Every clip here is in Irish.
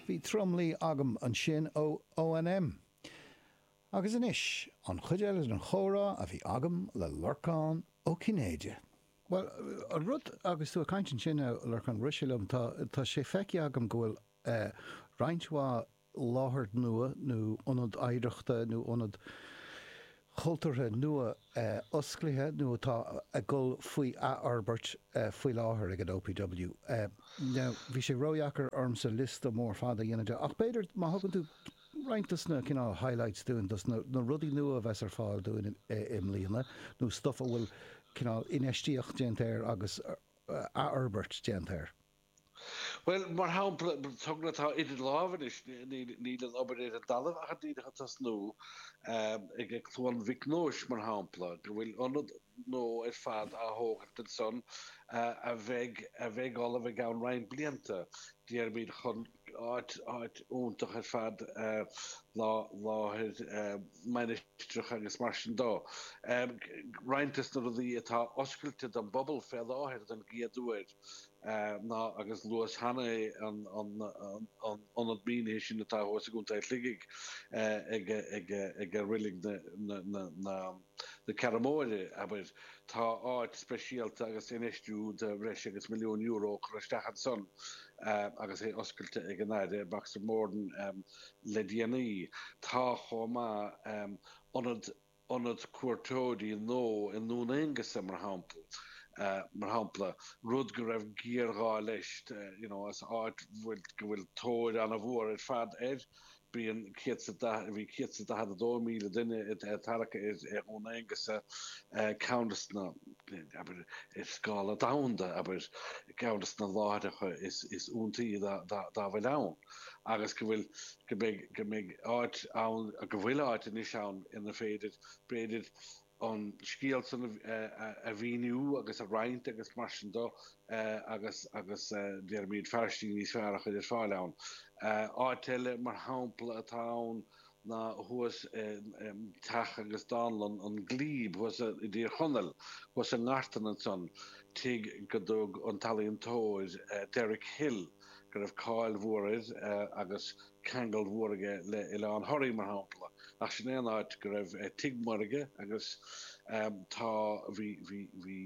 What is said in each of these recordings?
Bhí Tromluí agam ansin ó ONM. Agus anois, an chuid eile den chomhrá a bhí agam le Lorcán Ó Cinnéide. Bhuel, an rud, agus tú ag caint ansin, a Lorcáin, rith sé liom, tá, tá sé feicthe agam go bhfuil eh, roinnt mhaith láthair nua nó ionad oidhreachta nó ionad chultúrtha nua osclaithe nó atá ag dul faoi athfhorbairt faoi láthair ag an OPW. Now, bhí sé ródheacair ormsa liosta mór fada a dhéanamh de, ach b'fhéidir má thugann tú roinnt dos na cineál highlights dúinn, dos na rudaí nua a bheas ar fáil dúinn i mbliana, nó stuff a bhfuil cineál infheistíocht déanta air agus athfhorbairt déanta air. Bhuel, mar shampla, togra atá idir lámha anois, níl an obair ar an dtalamh ach díreach ag tosnú, ag Cluain Mhic Nóis, mar shampla, go bhfuil ionad nua ar fad á thógaint ansan a bheidh, a bheidh ullamh i gceann roinnt blianta, déarfaimid, chun áit, áit iontach ar fad, láthair mainistreach agus mar sin dó. Roinnt des na rudaí atá oscailte don bpobal fé láthair don gcéad uair, ná, agus luas cheana é, an ionad mínithe sin atá thuas i gContae Shligigh ag Reilig na Ceathrún Móire, abair. Tá áit speisialta agus infheistiú de bhreis agus €1 milliún curtha isteach ansan agus é oscailte ag an Aire Boxer Moran le déanaí. Tá chomh maith ionad ionad cuairteoirí nua i nDún Aonghasa, mar mar shampla, rud go raibh géarghá leis, you know, is áit bhfuil, go bhfuil tóir an-mhór ar fad air. Bíonn bhí 142,000 duine ag tarrac ar Dhún Aonghasa, ceann de na, abair, ar scála domhanda, abair, ceann de na láithreacha is is iontaí dá dá bhfuil ann. Agus go bhfuil, go mbeidh, go mbeidh áit ann, go bhfuil áit anois ann inar féidir, b'fhéidir, an scéal san a mhíniú agus a roinnt agus mar sin de agus, agus déarfaimid, tairiscintí níos fearr a chur ar fáil ann. Áit eile, mar shampla, atá ann ná thuas i teach agus dánlann an Glebe thuas i dTír Chonaill, thuas i nGartan ansan, tigh go dtug an t-ealaíontóir Derek Hill, go raibh cáil mhór air agus ceangal mhór aige le Oileán Thoraí, mar shampla, ach sin é an áit go raibh Tigh Mhuirge agus tá, bhí, bhí, bhí,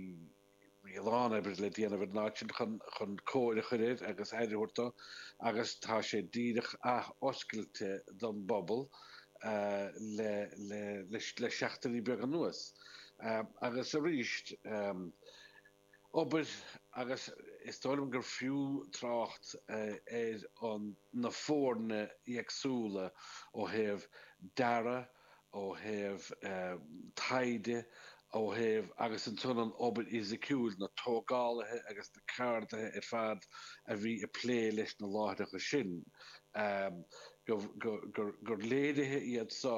bhí a lán oibre le déanamh ar an áit sin chun, chun cóir a chur air agus aire a thabhairt dó agus tá sé díreach ath-oscailte don bpobal le, le, le, le seachtainí beaga anuas. Agus arís, obair agus is dóigh liom gur fiú trácht ar an na foirne éagsúla ó thaobh dearadh, ó thaobh taighde, ó thaobh agus ansan an obair fhisiciúil, na tógálaithe agus na ceardaithe ar fad a bhí ag plé leis na láithreacha sin, gur léirithe iad so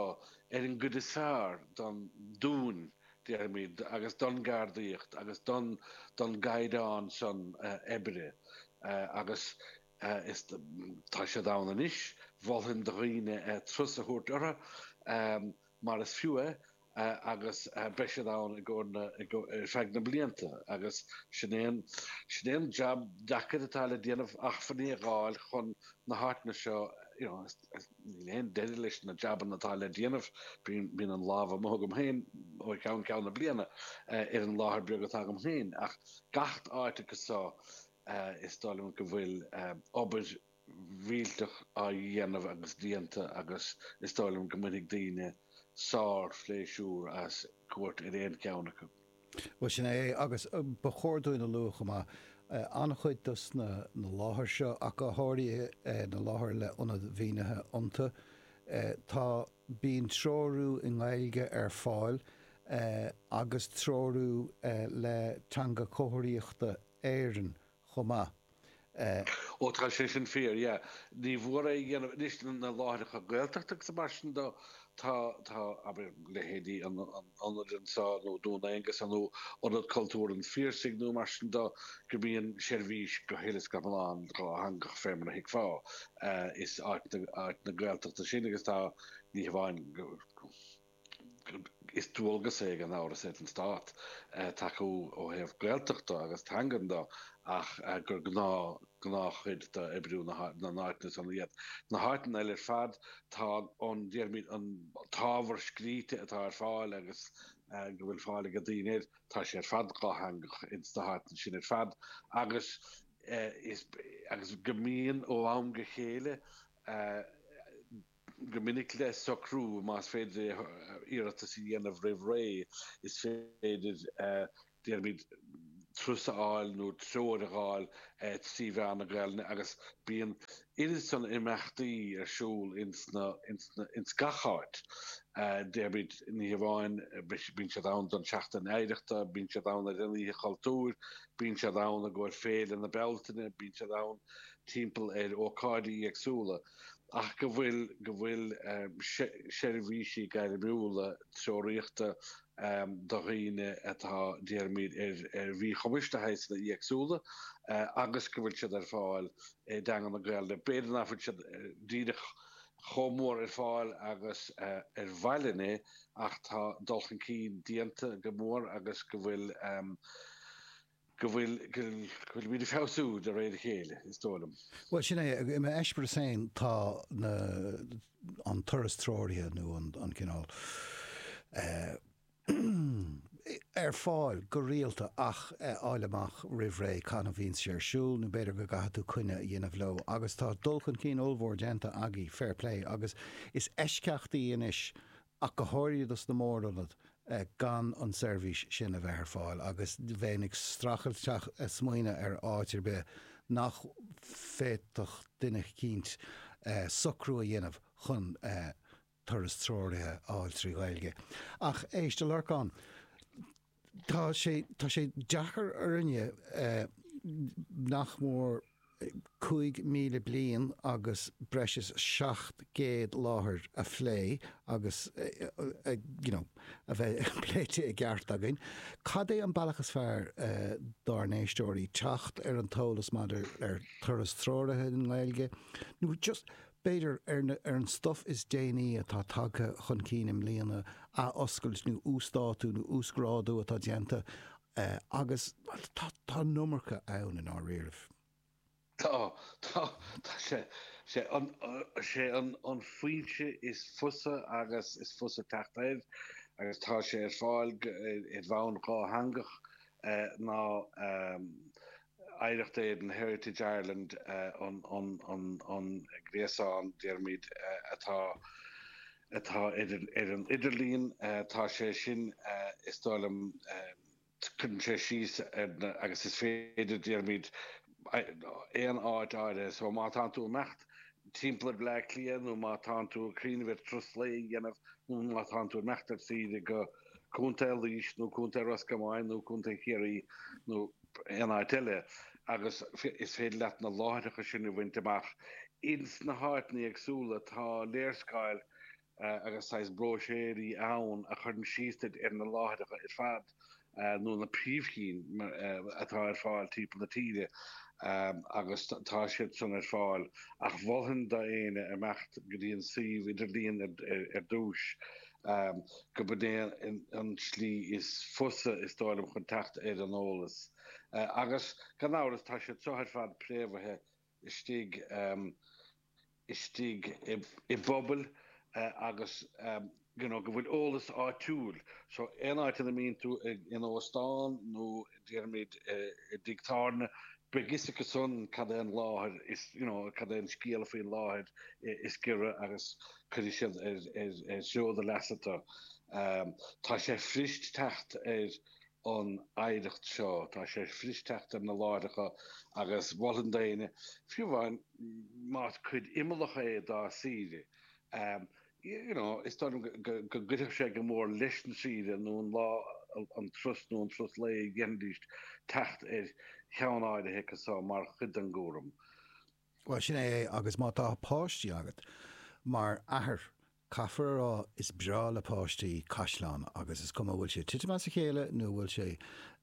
ar an gcuid is fearr don dúinn déarfaimid, agus don gceardaíocht agus don don gcaighdeán san oibre agus is tá siad ann anois, mholfainn do dhaoine turas a thabhairt orthu mar is fiú é agus beidh siad ann i gcomhair na ar feadh na blianta agus sin é an sin é an jab deacair atá le déanamh acmhainní a dh'fháil chun na háiteanna seo you know Níl aon deireadh leis na jabanna atá le déanamh. Bíonn an lámh amuigh agam féin ó cheann ceann na bliana ar an láthair beag atá agam féin ach gach áit acu so is dóigh liom go bhfuil obair mhillteach á dhéanamh agus déanta agus is dóigh liom go mbainfidh daoine sár-phléisiúr as cuairt ar aon cheann acu. Bhuel, sin é, agus ba chóir dúinn a lua chomh maith, an-chuid dos na láthair seo, ach go háirithe na láthair le ionaid mhínithe iontu, tá, bíonn treorú i nGaeilge ar fáil agus treorú le Teanga Chomharthaíochta Éireann chomh maith. Ó tá sé sin fíor, yeah. Ní mhór é a dhéanamh anois na láithreacha Gaeltachta agus mar sin de, tá, tá, abair, leithéidí an ionaid anseo nó Dún Aonghasa nó Ionad Cultúir an Phiarsaigh nó mar sin de, go mbíonn seirbhís go huile is go hiomlán dhátheangach fé mar a thuigfeá. Is áit na, áit na Gaeltachta sin agus tá, ní hamháin go, Is dualgas é gan amhras ar an Stát tacú ó thaobh Gaeltachta agus teangan de ach gur gnáth gnáthchuid d'oibriú na n-áiteanna san iad. Na háiteanna eile ar fad tá an, déarfaimid, an t-ábhar scríte atá ar fáil agus go bhfuil fáil ag daoine air, tá sé ar fad dhátheangach ins na háiteanna sin ar fad agus is agus go mbíonn ó am go chéile Go minic le socrú, más féidir é iarratas a dhéanamh roimh ré, is féidir, déarfaimid, turas a fháil nó treoir a fháil trí mheán na Gaelainne agus bíonn oiread san imeachtaí ar siúl ins na, ins na, ins gach áit. Déarfaimid, ní hamháin, bíonn siad ann don Seachtain Oidhreachta, bíonn siad ann ar an Oíche Chultúir, bíonn siad ann i gcomhair Féile na Bealtaine, bíonn siad ann timpeall ar ócáidí éagsúla. ach go bhfuil, go bhfuil seirbhísí gairmiúla treoraíochta do dhaoine atá, déarfaimid, ar, ar mhíchumais de shaghsanna éagsúla agus go bhfuil siad ar fáil i dteanga na Gaelainne. B'fhéidir nach bhfuil siad díreach chomh mór ar fáil agus ar mhaith linn é ach tá dul chun cinn déanta go mór agus go bhfuil, go bhfuil, go bhfuilimid ag feabhsú de réir a chéile, is dóigh liom. Bhuel, sin é. I m'eispéireas féin, tá na, an turas treoraithe nó an, an cineál eh, ar fáil go rialta ach fháil amach roimh ré cathain a bhíonn sé ar siúl nó b'fhéidir go gcaithfidh tú coinne a dhéanamh leo agus tá dul chun cinn ollmhór déanta agaibh, fair play, agus is eisceachtaí anois ach go háirithe dos na mórionaid, gan an seirbhís sin a bheith ar fáil agus bheinn ag streachailt teacht smaoineamh ar áit ar bith nach bhféadfadh duine eicínt socrú a dhéanamh chun turas treoraithe a fháil trí Ghaeilge. Ach éist, a Lorcáin, tá sé, tá sé deacair orainne nach mór 5,000 bliain agus breis is 700 láthair a phlé agus you know a bheith pléite i gceart againn. Cad é an bealach is fearr dár n-éisteoirí teacht ar an t-eolas maidir ar turas treoraithe i nGaeilge nó just b'fhéidir ar na ar an stuif is déanaí atá tagtha chun cinn i mbliana, athoscailt nó uasdátú nó uasghrádú atá déanta Agus tá, tá an iomarca ann i ndáiríribh. Tá, tá, tá sé, sé an, sé an, an foinse is fusa agus is fusa teacht air agus tá sé ar fáil ar bhonn dhátheangach ná Oidhreacht Éireann, Heritage Ireland, an, an, an, an gréasán, déarfaimid, atá, atá ar ar an idirlíon. Tá sé sin, is dóigh liom, cuireann sé síos ar na, agus is féidir, déarfaimid, aon áit áirithe. So má tánn tú ag imeacht timpeall ar Bhleá Cliath nó má tánn tú ag cuimhneamh ar turas lae a dhéanamh nó má tánn tú ag imeacht ar saoire go Contae Laois nó Contae Ros Comáin nó Contae Chiarraí nó aon áit eile agus is féidir leat na láithreacha sin a bhaint amach. Ins na háiteanna éagsúla tá léarscáil agus saghas bróiséirí ann a chuireann síos duit ar na láithreacha ar fad nó na príomhchinn atá ar fáil timpeall na tíre agus tá siad san ar fáil ach mholfainn d'éinne imeacht go dtí an suíomh idirlíon ar dtús go b'in é an tslí is fusa, is dóigh liom, chun teacht ar an eolas. Agus, gan amhras, tá siad seo ar fad préamhaithe istigh, istigh i bpobail agus, you know, go bhfuil eolas áitiúil. So, aon áit ina mbíonn tú in óstán nó, déarfaimid, i dtigh tábhairne, beidh fhios acu san cad é an láthair is, you know, cad é an scéal faoin láthair is giorra agus cuirfidh siad ar, ar, ar threo do leasa tú. Tá sé fuirist teacht ar an oidhreacht seo, tá sé fuirist teacht ar na láithreacha agus mholfainn d'éinne, fiú amháin más cuid imeallach é dá saoire, you know, is dóigh liom go gcuirfeadh sé go mór leis an saoire nó an lá, an turas nó an turas lae a dhéanfaidís teacht ar cheann áirithe acu so mar chuid den gcúram. Bhuel, sin é é agus má tá páistí agat, mar athair, caithfear a rá, is breá le páistí caisleán agus is cuma an bhfuil sé ag titim as a chéile nó an bhfuil sé,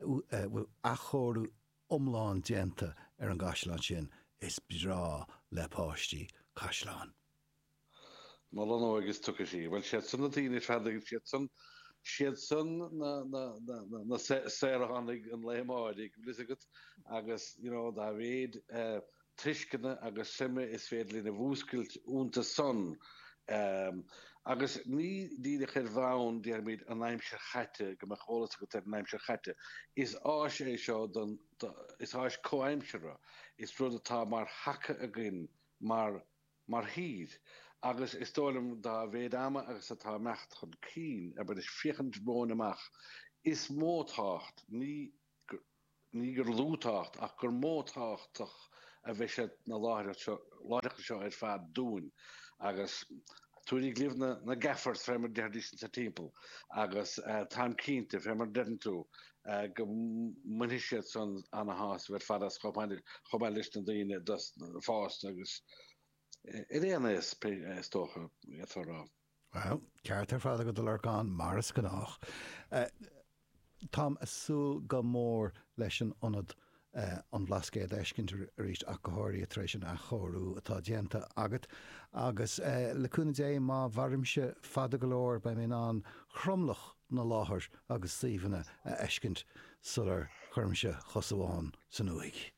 bhfuil athchóiriú iomlán déanta ar an gcaisleán sin, is breá le páistí caisleáin. Mol an óige is tiocfaidh sí. Bhuel, siad san na daoine ar fad agus siad san. Siad san na saoránaigh an lae amáirigh, bhfuil fhios agat, agus you know dá mhéid tuisceana agus suime is féidir linn a mhúscailt iontu san. Agus ní díreach ar bhonn, déarfaimid, an aimsir chaite, go mbeadh eolas agat ar an aimsir chaite. Is áis é seo don, is áis comhaimseartha, is rud atá mar thaca againn mar, mar thír. Agus is dóigh liom dá mhéad ama agus atá ag imeacht chun cinn, abair, ag féachaint romhainn amach, is mó tábhacht, ní ní gur lú tábhacht, ach gur mó tábhachtach a bheidh siad na láithreacha seo ar fad dúinn. Agus tabhairíg libh na na gaffers fé mar déarfaidís insa timpeall agus táim cinnte, fé mar deireann tú, go mbainfidh siad san ana-shásamh ar fad as chomh maith leis na daoine fásta agus ar aon aos, is dócha, d'fhéadfá a rá. Bhuel, ceart ar fad agat a Lorcáin, mar is gnách. Táim ag súil go mór leis an ionad an Bhlascaoid a fheiscint arís ach go háirithe tar éis an athchóiriú atá déanta agat. Agus le cúnamh Dé má mhairimse fada go leor beidh mé in ann tromlach na láthair agus suíomhanna a fheiscint sular chuirimse cos amháin san uaigh.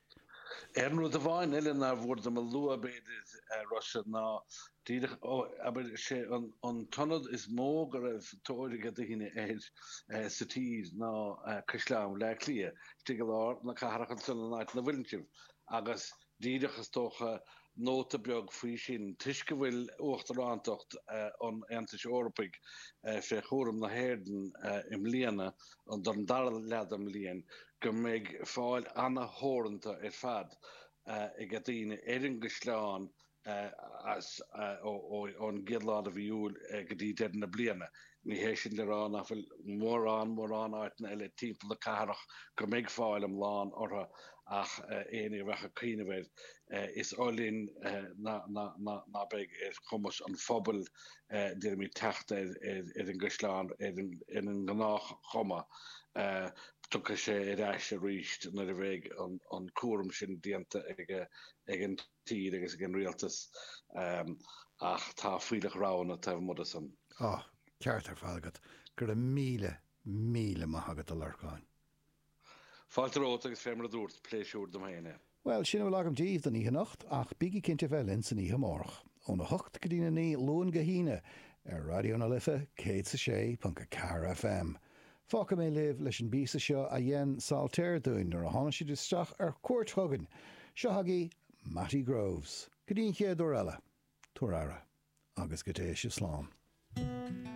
Aon rud amháin eile nár mhór dom a lua, b'fhéidir, a Rossa, ná díreach, ó, abair, sé an t-ionad is mó go raibh tóir ag daoine air sa tír ná Caisleán Bhaile Átha Cliath, istigh i lár na cathrach ansan an áit ina bhfuileann sibh, agus díreach, is dócha, nóta beag faoi sin, toisc go bhfuil Uachtarántacht an Aontais Eorpaigh fé chúram na hÉireann i mbliana, don dara leath den mbliain, go mbeidh fáil ana-theoranta ar fad ag daoine ar an gcaisleán as ón gcéad lá de mhí Iúil go dtí deireadh na bliana. Ní hé sin le rá nach bhfuil mórán, mórán áiteanna eile timpeall na cathrach go mbeidh fáil iomlán orthu ach éinne a bheadh ag cuimhneamh air, is oth linn ná beidh ar chumas an phobail, déarfaimid, teacht ar an gcaisleán ar an ngnáthchuma. Tiocfaidh sé ar ais arís nuair a bheidh an cúram sin déanta ag an tír agus ag an rialtas ach tá fuílleach roghanna taobh amuigh de san. Á, ceart ar fad agat. Go raibh míle, míle maith agat, a Lorcáin. Fáilte romhat agus fé mar a dúrt, pléisiúr dom féin é. Bhuel, sin a bhfuil agam daoibh don oíche anocht, ach bígí cinnte bheith linn san oíche amárach, óna hocht go dtína naoi, Luan go hAoine, ar Raidió na Life 106.4 FM. Fágfaidh mé libh leis an bpíosa seo a dhein Saltair dúinn nuair a tháinig siad isteach ar cuairt chugainn. Seo agaibh Matty Groves. Go dtí an chéad uair eile, tabhair aire, agus go dté sibh slán.